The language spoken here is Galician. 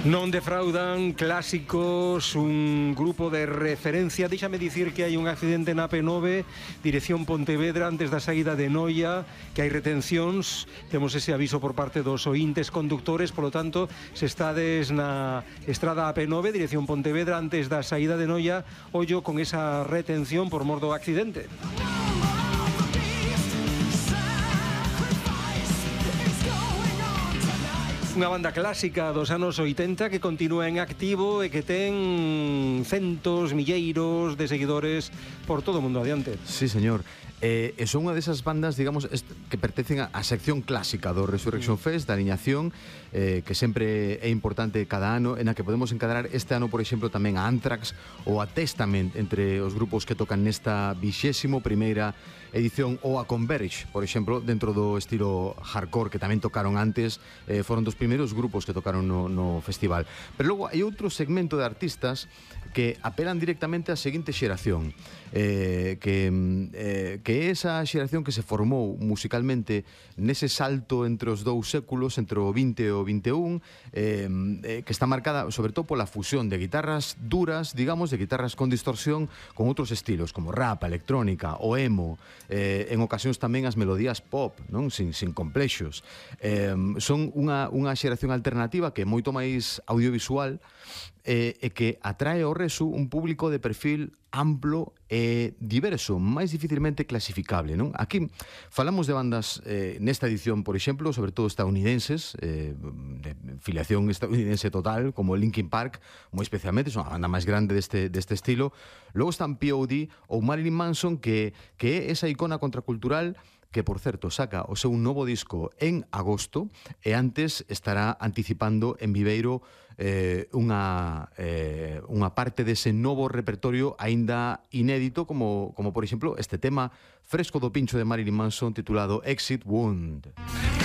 Non defraudan clásicos, un grupo de referencia. Déxame dicir que hai un accidente na P9, dirección Pontevedra, antes da saída de Noia, que hai retencións. Temos ese aviso por parte dos ointes conductores, polo tanto, se estades na estrada AP9, dirección Pontevedra, antes da saída de Noia, ollo con esa retención por mor do accidente. Unha banda clásica dos anos 80 que continúa en activo e que ten centos, milleiros de seguidores por todo o mundo adiante. Sí, señor. E son unha desas bandas, digamos, que pertencen á sección clásica do Resurrection Fest, da aliñación, que sempre é importante cada ano, en a que podemos encadrar este ano, por exemplo, tamén a Anthrax ou a Testament, entre os grupos que tocan nesta 21ª edición, ou a Converge, por exemplo, dentro do estilo hardcore, que tamén tocaron antes, foron dos primeiros grupos que tocaron no festival. Pero logo hai outro segmento de artistas que apelan directamente á seguinte xeración, que é esa xeración que se formou musicalmente nese salto entre os dous séculos, entre o 20 e o 21, que está marcada sobre todo pola fusión de guitarras duras, digamos, de guitarras con distorsión, con outros estilos, como rap, electrónica, o emo, en ocasións tamén as melodías pop, non? Sin complexos. Son unha xeración alternativa que é moito máis audiovisual, e que atrae ao resu un público de perfil amplo e diverso, máis dificilmente clasificable, non? Aquí falamos de bandas nesta edición, por exemplo, sobre todo estadounidenses, de filiación estadounidense total, como Linkin Park, moi especialmente, son a banda máis grande deste estilo. Logo están POD ou Marilyn Manson, que é esa icona contracultural que, por certo, saca o seu novo disco en agosto e antes estará anticipando en Viveiro unha parte dese novo repertorio aínda inédito, como por exemplo, este tema fresco do pincho de Marilyn Manson titulado Exit Wound.